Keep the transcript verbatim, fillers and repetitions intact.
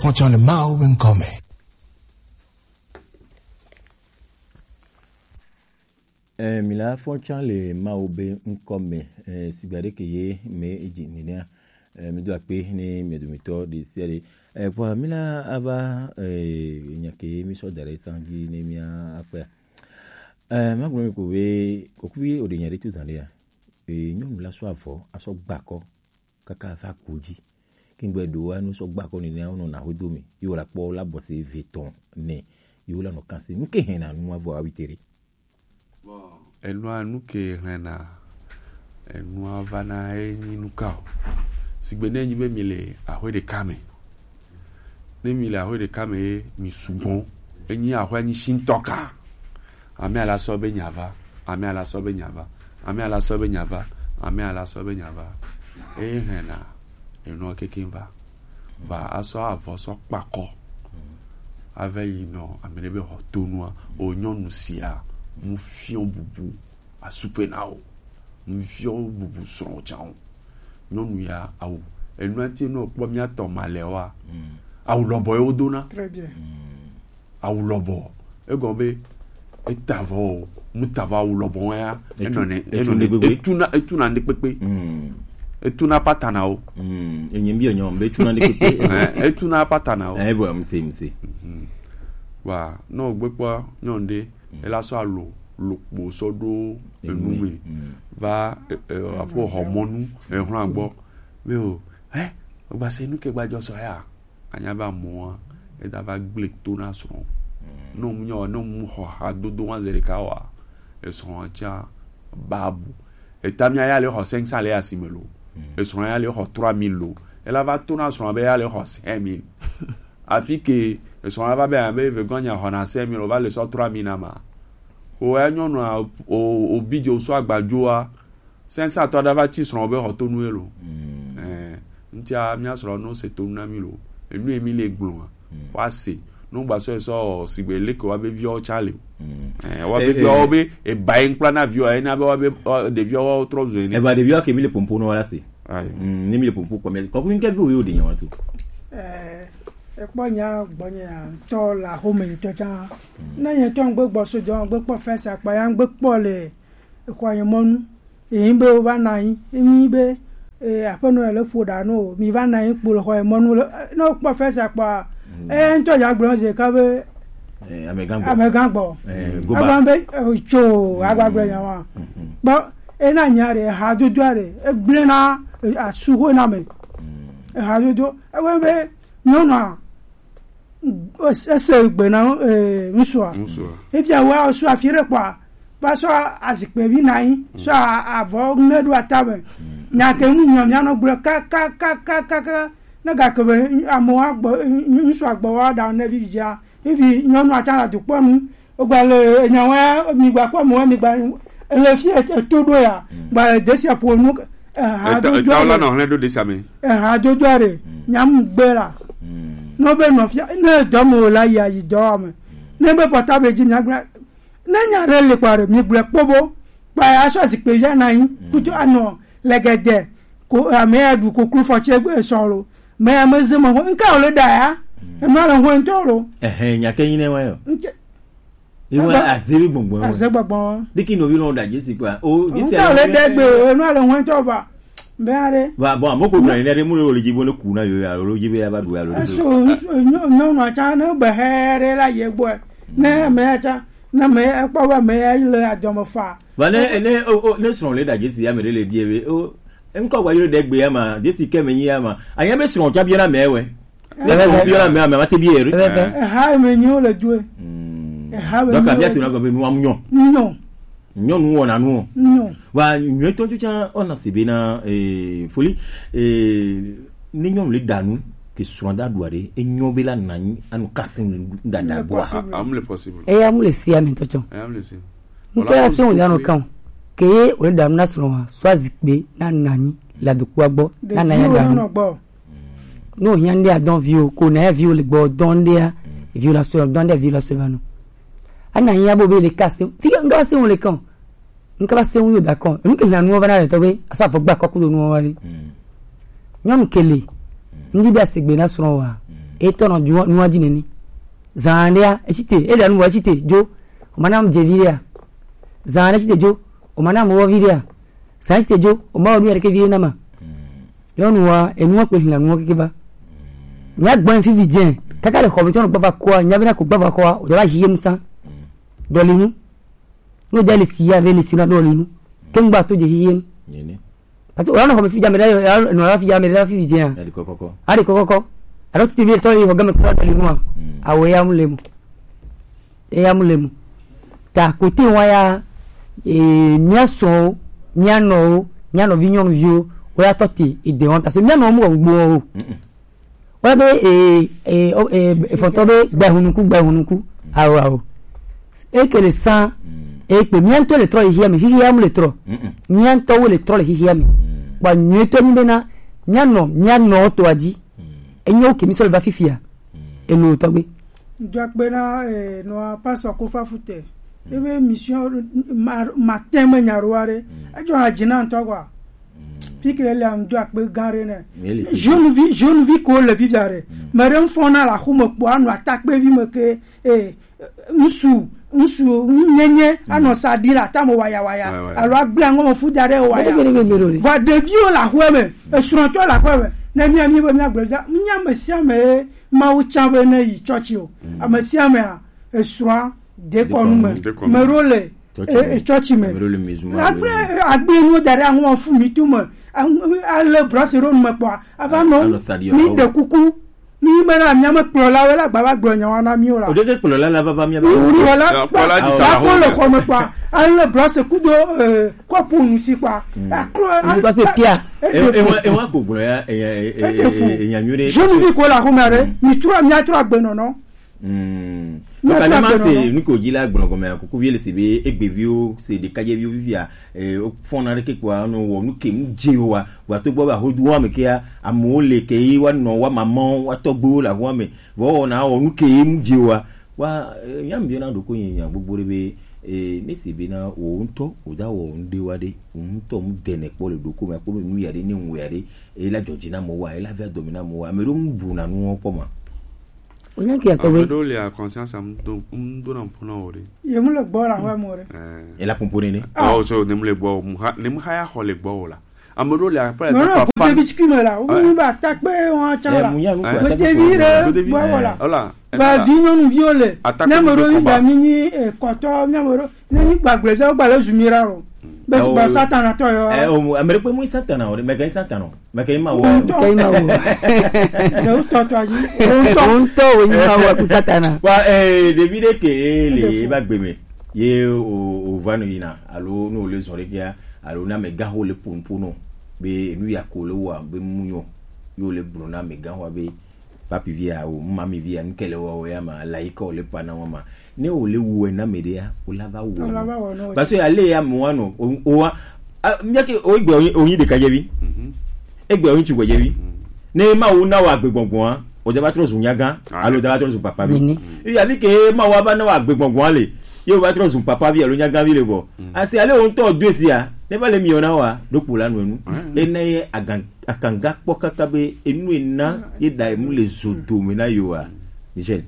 Fɔtsɔ le Mawu be ŋkɔ me. Eh, mi la fɔtsɔ le Mawu be ŋkɔ me. Eh, sigba ɖe ke ye me edzi nenea. Eh, mi do akpe ne mi dometɔ ɖe sia ɖe. Eh, kpɔ mi la ava, eh, nya ke mi sɔ da ɖe san dzi ne mi akpea. Eh, ma gblɔ mi ko be, kokuvi o de nya ɖe tu zan ɖe ya. Eh, nyɔnu la sɔ avɔ, asɔ gbakɔ. Kaka va ku dzi. Kingbe ɖo wa nu sɔ gba kɔ nene wo nɔ na ho do mi. Yo la kpɔ la bɔ se ve tɔn ne. Yo la nɔ kan se. Nu ke hɛn na nu avɔ awi tere. Bon, enua nu ke hɛn na enua va na e nyi nu ka o. Sigbe ne nyi be mi le ahwe ɖeka me. Ne mi le ahwe ɖeka me ye mi sugbɔ. Enyi ahwe nyi shintɔ ka. Ame ala sɔ be nya va, ame ala sɔ be nya va, ame ala sɔ be nya va, ame ala sɔ be nya va. Eye hɛn na enɔ keke va. Va asɔ avɔ sɔ kpakɔ. Ave yi nɔ ame ɖe be xɔ tonua, o nyɔnu sia, mu fiɔ bubu, asupe na o. Mu fiɔ bubu srɔ̃ can o. Nyɔnu ya awu. Enua ti nɔ kpɔ mía tɔ ma le wa. Awu lɔbɔ ye wodona. Très bien. Awu lɔbɔ. Egɔme be eta avɔ o, mu ta avɔ awu lɔbɔ ya. Etu- Enɔ ne, etu enɔ ne ne, gbegbe. Etuna, etuna ne kpekpe. Mm. Etuna patana o. Mm. Enyi bi enyo, be etuna ne kpekpe. Eh, etuna patana o. Eh, bon, mse, mse. Mhm. Wa, no gbe kpɔ, nyɔnu ɖe, ela sɔ alo, lokpo sɔ ɖo enu me. Mm. Va, eh, eh, aƒo xɔ mɔnu, eh, xlã gbɔ. Be o, eh, o gba se nu ke gba jɔ sɔ ya. Anya be amɔa, eda va gble to na srɔ̃. Ne mu nyɔ, ne mu xɔ hadodo wa ze ɖeka wa, esrɔ̃ tsa babu. Eta mia ya le xɔ cinq cents le asime lo. Esrɔ̃ ya le xɔ trois mille lo. Ela va to na srɔ̃ be ya le xɔ cinq mille. Afi ke esrɔ̃ la va be, be vegɔn nya xɔ na cinq mille, o va le sɔ trois mille na ma. O ya nyɔnua, o, o bi je o sɔ agbajoa, Sɛnsatɔ ɖe va tsi srɔ̃ be xɔtonu ye lo. Ɛɛ, ŋutia mía srɔ̃ no se tonu na mí lo. Enu ye mí le gblɔ ma. Wa se. No gba sɔ sɔ sigbe leke wa be viawo tsa le o. Ɛɛ, wa be Eh, viawo eh. Be eba ye ŋkpla na viawo, ena be wa be, wa, ɖeviawo wa trɔ zu ene. Eba ɖeviawo ke mí le pompo no wa la se. Ayi. Mm, ne mí le pompo kɔ mí. Kɔkɔ ŋkɛ viwo yo de nyawa to. Eh, ekpɔ nya gbɔnye ya, ŋutɔ la home ŋutɔ tsã. Ne nye tɔ ŋgbe gbɔ so jɔ, ŋgbe kpɔ fɛsa kpa ya, ŋgbe kpɔ le exɔ ye mɔnu. Eyin be wo va na anyi, eyin be, eh, aƒenɔ ya le ƒo ɖa no, mi va na anyi kpo le xɔ ye mɔnu le, eh, ne wo kpɔ fɛsa kpɔa, eh, ŋutɔ ya gblɔ ze ka be, Eh, amegã gbɔ. Amegã gbɔ. Eh, goba. Agba be, eh, tso, agba gblɔ nya wa. Kpɔ, ena nya ɖe, ehadodo ɖe, egblẽ na, eh, asuho na me. Ehadodo, ewe be, nyɔnua, es-, ese gbe na, eh, ŋutsua. Ŋutsua. Efia wa, sɔ afi ɖe kpɔa, va sɔ azikpe vi na anyi, sɔ a-, avɔ ŋe ɖo atame. Nya ke ŋu nyɔ mía nɔ gblɔ ka, ka, ka, ne gake be amewo agbɔ, ŋ-, ŋ-, ŋutsua gbɔ wa ɖa ne vivi dzia, vivi nyɔnua tsã la dukpɔ nu. Wogba le enya wa, mi gba kpɔ mo, mi gba, ele fi e-, eto ɖo ya, gba le desia ƒo nu, eh, ha Eta, dodo eta wo la ɖe. Nɔ hlẽ ɖo desia me. Eh, ha dodo ɖe, nyam gbe la. No be nɔfia, ne dɔ mo la ya yi dɔ me. Ne be pɔta be dzi mia gblẽ, ne nya ɖe le kpa ɖe, mi gblẽ kpɔ bo, kpa ya sɔ zikpe ya na anyi, kutu anɔ, legede, ko, ame ya ɖu koklo fɔ tse gbe sɔ lo. Me ya me ze me ho, nka wo le ɖa ya, ema le ho ŋutɔ lo. Ɛhɛ, nya ke nyi ne wa yo. Nke- Iwe Ebe- azebi gbɔngbɔn. Aze gbɔngbɔn. Diki no vi no da Jesi kwa. O, Jesi Nka wo le ɖe gbe, enu le ho ŋutɔ va. Be aɖe. Va, bon, amo ko gblɔ ne ɖe mu le dzi bo ne ku na yo ya, lo dzi be ya va ɖu ya lo. Eso, nyɔ-, nyɔnua tsã ne be hɛ ɖe la ye gbɔe. Ne ame ya tsã, ne ame ya kpɔ be ame ya le adɔme fa. Va ne, ne, o, o, ne srɔ̃ le da Jesi ya me ɖe le bie be, o, ŋkɔ gba yɔ ɖe gbe ya ma, Jesi ke me nyi ya ma. Anya be srɔ̃ tsã bia na me wɛ. Ne srɔ̃ bia na me, ame ma te bia ere. Eha me nyi wo le doe. Eha me Donc, nyi abia wo si na gbe be nu am nyɔ. Nyɔ. Nyɔnu wɔna nu o. Nyɔ. Wa nyuie tɔ tsã ona se be na, eh, foli, eh, ne nyɔnu le da nu ke srɔ̃ da ɖu aɖe, enyo be la nanyi anu kasi nu dada Ele gbɔa. Possible. A-, am le possible. Eya mu le si ame tɔ tsɔ. Eya mu le si. Ŋutɔ ya se wòle anɔ kan o. Ke ye wòle ɖa nu na srɔ̃a, sɔ azikpe na nanyi le adokpoa gbɔ, na nanyi Ɖeviwo ɖa nu. Nɔ gbɔ. Ne wòhiã ŋɖe adɔn viwo, ko na ya viwo le gbɔ dɔn ŋɖea, viwo la sɔ, dɔn ŋɖea viwo la sɔ va nɔ. Ana hiã bo be le ka se, fi ke ŋdɔ se wòle kan o. Ŋkaba se ŋu yo da kɔn. Ŋke na nuwo va na le tɔ be, asa fɔ gba kɔku do nuwo va le. Nyɔnu ke le. Ŋdi be asegbe na srɔ̃ wa. Etɔ nɔ nua dzi nene. Zan ɖea, etsi te, eɖa nu vɔ etsi te dzo. O ma na mu dzevi ɖea. Zan ɖe tsi te dzo. O ma na mu wɔvi ɖea. Zan tsi te dzo. O ma wɔ nu ya ɖeke vi ɖe na ma. Nyɔnua, enua kpe hila nua keke va. Nya gbɔ fi vi dze. Kaka le xɔ me tsɔ nɔ gbava kɔa, nya be na ko gbava kɔa, o va yi yem sa. Dɔli nu. No de le si ya ve le si na dɔli nu. Ke ngba to dze yi yem. Parce que o la nɔ xɔ me fi dza me ɖe, nɔ la fi dza me ɖe la fi vi dze ya. Adi kɔkɔkɔ. Adi kɔkɔkɔ. Alo titi bi tɔ yi xɔ game kura dɔli nua. Awo ya mu le mu. Eya mu le mu. Ta kote wa ya, e, mia sɔn o, mia nɔ o, mia nɔvi nyɔnuvi o, o ya tɔ te ede wɔn parce que mia nɔ mu gbɔ o. O ya be e e o e efɔtɔ be gbɛ hunuku gbɛ hunuku. Awo awo. E kele san e kpe mia ŋutɔ le trɔ le hihia me, hihia mu le trɔ. Mia ŋutɔ wo le trɔ le hihia me. Bɔn nyuie tɔ nyi be na mia nɔ mia nɔ to adzi. Enyo ke mi sɔ le va fifia. Elo tɔgbe. Ŋdɔ akpe na eh, nɔa pasɔ Kofa Fute. Ebe mission ma- matin me nya ɖo aɖe. Edzɔ na dzi na ŋutɔ kɔa. Fi ke le ŋdɔ akpe gã ɖe nɛ. Jeune vi jeune vi ko le vivia ɖe. Me ɖe ŋfɔ na la xome kpɔ anɔ atakpe vi me ke eh, ŋsu ŋsu ŋnyenye anɔ sa ɖi la tame waya waya. Alo agblẽ aŋɔ me fu da ɖe waya. Vɔ ɖeviwo le aƒe me, esrɔ̃tɔ le aƒe me. Ne mia mi be mia gblɔ dza mia me sia me Mawu tsã be ne yi tsɔtsi o. Ame sia amea esrɔ̃a dekɔnu me. Me ɖo le e- e- tsɔtsi me. Agble agble nuwo da ɖe aŋɔ fu mi tu me. Ale brɔse ɖo nu me kpɔa ava nɔ mi ɖe kuku. Mi me na mia me kplɔlawo la gbava gblɔ nyawa na mi o la. O ɖeke kplɔla la vava mia ba. Kplɔla kplɔla di sa la le xɔ me kpɔa ale brɔse kudo kɔpu nu si kpɔa. Aklo. Parce que pia. Ewa ko gblɔ ya enya nyuie ɖe. Jeune vi ko la xɔme aɖe mi trɔ mia trɔ agbenɔnɔ. Maka ne ma se nu ko dzi la gblɔ gɔmea kuku vie le se be egbeviwo se ɖekadzeviwo fifia. Wofɔna ɖeke kpɔa nɔ wɔ nu ke mu dze wa vɔ ato gbɔ be ahodu wa me kea amewo le ke yi wa nɔ wa mamawo wa tɔgbewo le ahoa me vɔ wɔna wɔ nu ke mu dze wa wa. Nya mi biɔna ɖoko nye nya gbogbo ɖe be ne se be na wo ŋutɔ wo da wɔ nu ɖe wa ɖe wo ŋutɔ mu dene kpɔ le ɖoko me akpɔ be nu ya ɖe ne ŋu ya ɖe ela dzɔdzi na mo wa ela via dɔmi na mo wa ame ɖo mu bu na nu wɔn kpɔ ma. Wonye ke atɔ be. Ame ɖewo lia conscience am do ŋdo na ƒo na wo ɖe. Ye mu le gbɔ la wa mo ɖe. Ela pompo nene. Awo so ne mu le gbɔ mu ha ne mu ha ya xɔ le gbɔ wo la. Ame ɖewo lia par exemple fa. Devi tiki me la, wo ni ba takpe wa tsa la. Mu nya nu ko takpe. Devi re gbɔ wo la. Ola. Ba vi nyɔnu vi wo le. Ne me ɖo mi ba mi ni kɔtɔ mi ame ɖo ne mi gbagble zɛ wo gba le zu mi ra ro. Be su ba satana tɔ yo. Eh o ame ɖe kpe mu satana o, me ke satana o. Meke ima wo. Meke ima wo. Ze utɔ tɔ aji. Utɔ. Utɔ wo ima wo ku satana. Wa eh ɖevi ɖe ke eh le ba gbe me. Ye o o va no yina alo no le zɔn ɖe kia alo na me ga ho le pun pun no. Be nu ya ko le wa be mu yo. Yo le bro na me ga ho be papi via o mami via nkele wa o ya ma la iko le pa na wa ma. Ne o le wu ena me de ya o la va wo. Parce que ale ya mo wa no o wa. Mia ke o gbe o yin de ka je bi. Egbe o yin ti gbe je bi. Ne ma wo na wa gbe gbongbon a o de ba tro zu nyaga alo de ba tro zu papa bi. E ya bi ke ma wa ba na wa gbe gbongbon a le. Ye o ba tro zu papa bi alo nyaga bi le bo. Asi ale o nto do si a. Ne ba le mi o na wa do po la no nu. E na ye agan akanga kpɔ kaka be enu ena ye da emu le zo dome na yo a. Michel.